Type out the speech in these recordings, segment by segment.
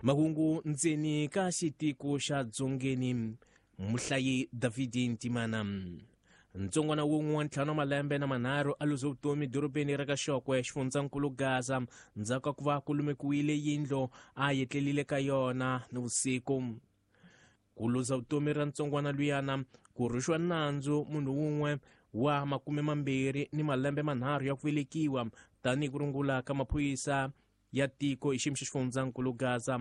Mahungu ndzeni ka xitiko xa Dzongeni, muhlayi Davidi Ntimana. Ntsongwana wun'we wa ntlhanu wa malembe na manharhu a luze vutomi dorobeni ra ka Xokwe, xifundzankulu Gaza, ndzhaku ka ku va ku lumekiwile yindlo a yetlelile ka yona ni vusiku. Ku luza vutomi ra ntsongwana luyana ku rhuxiwa nandzu munhu wun'we wa 20 ni malembe manharhu ya ku velekiwa, tanihi ku rungula ka maphorisa ya tiko hi xiyimo xa xifundzankulu Gaza.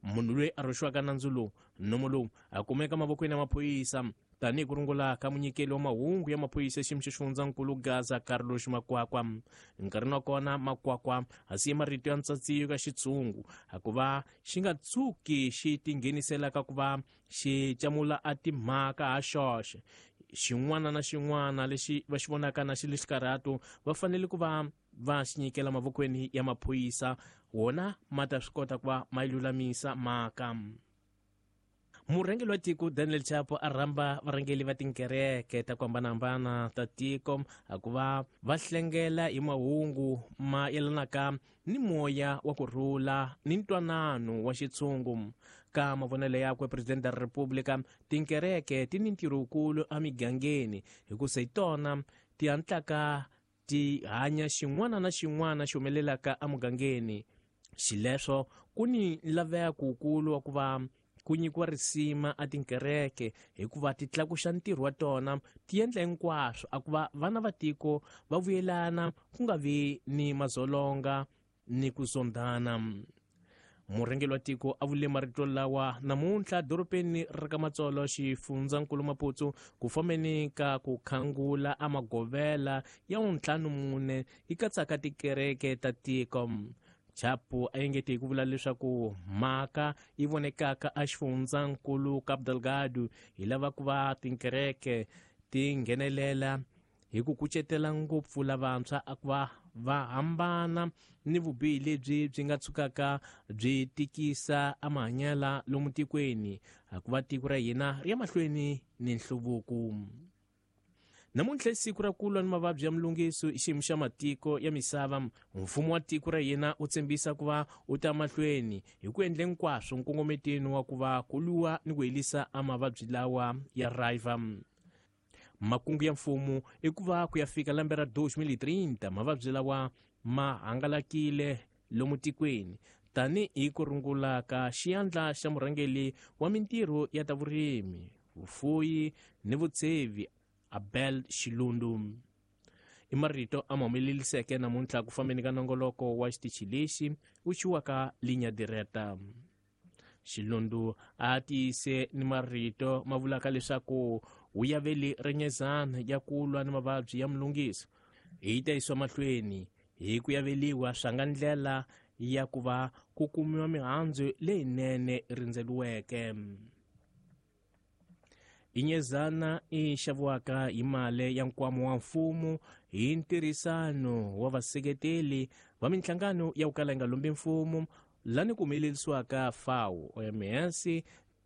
Munhu loyi a rhuxiwaka nandzu lowu, nomo lowu a kumeka mavokweni ya maphorisa, tanihi ku rungula ka munyikeli wa mahungu ya maphorisa xiyimo xa xifundzankulu Gaza, Carlos Makwakwa. Nkarhini wa kona Makwakwa a siye marito ya ntsatsiyo ka xitshungu hikuva xi nga tshuki xi tinghenisela ka ku va xi camula a timhaka ha xoxe. Xin'wana na xin'wana lexi va xi vonaka na xi le xikarhato va fanele ku va va xi nyikela mavokweni ya maphorisa, wona ma ta swi kota ku va ma yi lulamisa mhaka. Murhangeri wa tiko Daniel Chapo a rhamba varhangeri va tinkereke ta ku hambanahambana ta tiko ku va va hlengela hi mahungu ma yelanaka ni moya wa ku rhula ni ntwanano wa xitshungu. Ka mavonelo yakwe Presidente ra Republika, tinkereke ti ni ntirho wukulu emigangeni hikusa hi tona ti hatlaka ti hanya xin'wana na xin'wana xi humelelaka emugangeni. Xileswo ku ni laveko wukulu wa ku va ku nyikiwa risima a tinkereke hikuva ti tlakuxa ntirho wa tona, ti endla hinkwaswo a ku va vana va tiko va vuyelana ku nga vi ni mazolonga ni ku zondhana. Murhangeri wa tiko a vule marito lawa namuntlha dorobeni ra ka Matsolo, xifundzankulu Maputo, ku fambeni ka ku khangula a magovela ya 54 yi katsaka tikereke ta tiko. Chapo a engete hi ku vula leswaku mhaka yi vonekaka a xifundzankulu Cabo Delgado hi lava ku va tinkereke ti nghenelela hi ku kucetela ngopfu lavantshwa a ku va va hambana ni vubihi lebyi byi nga tshukaka byi tikisa amahanyela lomu tikweni, hikuva tiko ra hina ri ya mahlweni ni nhluvuko. Namuntlha i siku ra ku lwa ni mavabyi ya mulungiso i xiyimo xa matiko ya misava. Mfumo wa tiko ra hina wu tshembisa ku va wu ta mahlweni hi ku endla hinkwaswo nkongometeni wa ku va ku lwiwa ni ku herisa a mavabyi lawa ya riva. Makungu ya mfumo i ku va ku ya fika lembe ra 2030 mavabyi lawa ma hangalakile lomu tikweni, tanihi ku rungula ka xiyandla xa murhangeri wa mintirho ya ta vurimi, vufuyi ni vutsevi Abel Xilundu. I marito a ma humeleliseke namuntlha ku fambeni ka nongoloko wa xitichi lexi wu xiwaka Linha Direta. Xilundu a tiyise ni marito ma vulaka leswaku wu yaveli renyezana ya ku lwa ni mavabyi ya mulungiso hi ta yisiwa mahlweni hi ku yaveliwa swa nga ndlela ya ku va ku kumiwa mihandzu leyinene rindzeliweke. Inyezana i xaviwaka hi mali ya nkwama wa mfumo hi ntirhisano wa vaseketeli va minhlangano ya ku kala yi nga lombi mfumo lani ku humelerisiwaka FAO, OMS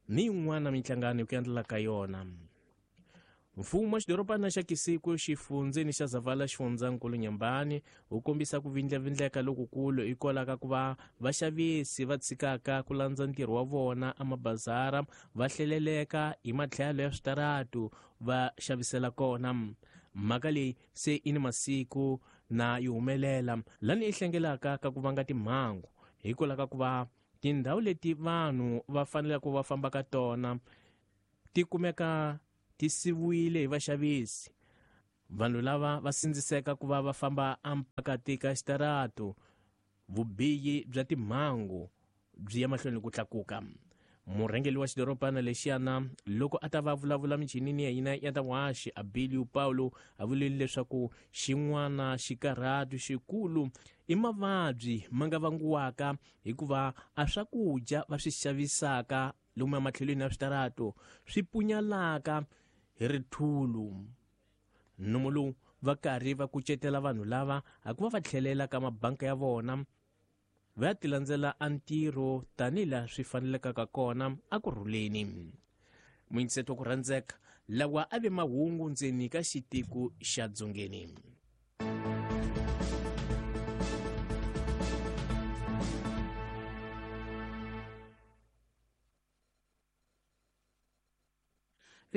ni yin'wana minhlangano ku endlela ka yona. Mfumo wa xidorobana xa Kisiku xifundzeni xa Zavala xifundzankulu Nyambani wu kombisa ku vindlavindleka lokukulu hikwalaho ka ku va vaxavisi va tshikaka ku landza ntirho wa vona emabazara va hleleleka hi matlhelo ya switaratu va xavisela kona. Mhaka leyi se i ni masiku na yi humelela lani yi hlengelaka ka ku vanga timhangu hikwalaho ka ku va tindhawu leti vanhu va faneleke va famba ka tona ti kumeka ti siviwile hi vaxavisi. Vanhu lava va sindziseka ku va va famba empakati ka xitaratu, vubihi bya timhangu byi ya mahlweni ku tlakuka. Murhangeri wa xidorobana lexiyana loko a ta va vulavula michinini ya hina ya ta vuhaxi Abilio Paulo a vulile leswaku xin'wana xikarhatu xikulu i mavabyi ma nga vangiwaka hikuva a swakudya va swi xavisaka lomu ematlhelweni ya switaratu swi punyalaka hi rithulu. Nomo lowu va karhi va kucetela vanhu lava hikuva va tlhelela ka mabanka ya vona va ya tilandzela a ntirho tanihi laha swi fanelekaka kona a ku rhuleni. Muyingiseto wa ku rhandzeka lawa a ve mahungu ndzeni ka xitiko xa Dzongeni.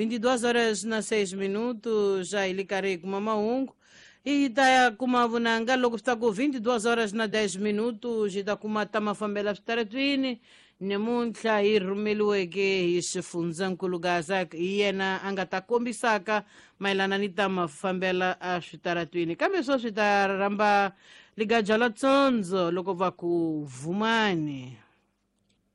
22 horas na 6 minutos, ja hi le karhi hi kuma mahungu. Hi ta ya kuma vunanga loko swi ta ku 22 horas na 10 minutos, hi ta kuma ta mafambela switaratwini. Namuntlha hi rhumeliweke hi xifundzankulu Gazak, hi yena a nga ta kombisaka mayelana ni ta mafambela a switaratwini. Kambe swo swi ta rhamba ligaja la tsondzo loko va ku vumani.